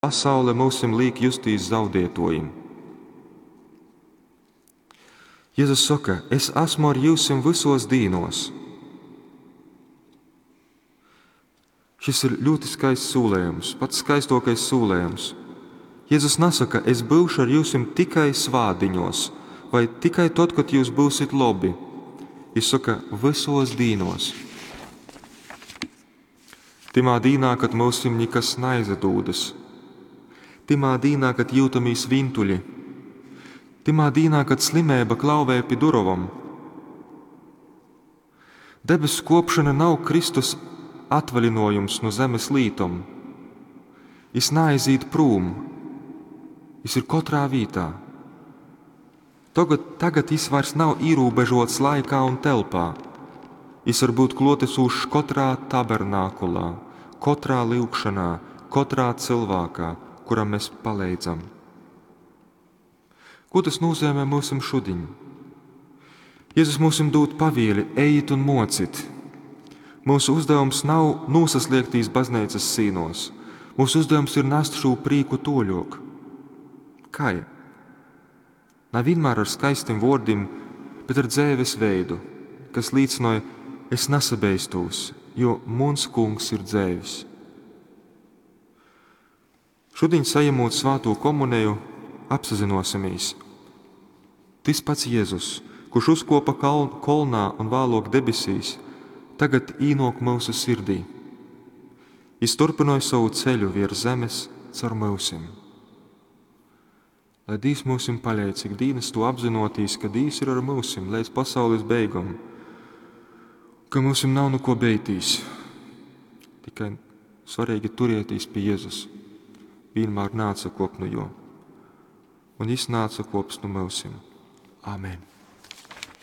Pasaule myusim līk justīs zaudietuojim. Jezus soka, es esmu ar jyusim vysuos dīnuos. Šis ir ļoti skaists sūlējums, pats skaistuokais sūlējums. Jezus nasaka, es būšu ar jyusim tikai svātdiņos vai tikai tod, kad jūs būsit lobi. Jis soka, vysos dīnos. Tymā dīnā, kad myusim nikas naizadūdas. Tymā dīnā, kad jūtamīs vintuļi. Tymā dīnā, kad slimība klauvē pi durovom. Debesu kopšana nav Kristus atvaļinojums no zemes lītom. Jis naaiziet prūm, jis ir katrā vītā. Tagad, tagad jis vairs nav ierobežots laikā un telpā. Jis var būt klotesošs katrā tabernākulā, katrā lyugšanā, katrā cilvēkā, kuram mēs palīdzam. Ko tas nozīmē mums šodien? Jēzus mums dod pavieli, ejiet un mocit. Mūsu uzdevums nav nosasliegtīs baznīcas sīnos. Mūsu uzdevums ir nest šo prīku toļok. Kā? Nav vienmēr ar skaistiem vārdiem, bet ar dzēves veidu, kas līdzinoja, es nesabeistūs, jo muns kungs ir dzēvis. Šodien saņemot svāto komuniju, apsazinosimies. Tis pats Jēzus, kurš uzkopa kolnā un vēlāk debesīs, tagad īnok mūsu sirdī. Jis turpināja savu ceļu virs zemes caur mūsim. Lai Dievs mūsim palīdz, cik dīnas to apzinotīs, ka Dievs ir ar mūsim līdz pasaules beigam, ka mūsim nav nu ko beitīs. Tikai svarīgi turietīs pie Jēzus. Vienmēr nāca kop nu jo. Un jis nāca kops nu mūsim. Amen.